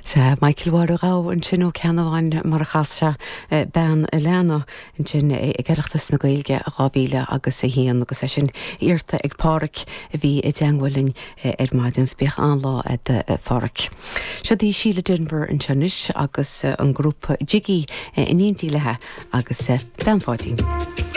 Sea, Michael Mháire Ghabha ansin ó Ceannabháin mar a chas sé Bean a' Leanna ansin ag Oireachtas na Gaeilge 2000 agus 1 agus é sin iarrta ag Pádhraic a bhí i dteangmháil linn ar maidin. 's bíodh an-lá a'd a Phádhraic. Siod í Síle Denvir anseo anois agus an grúpa Jiggy in éindí léi agus Bean Pháidín.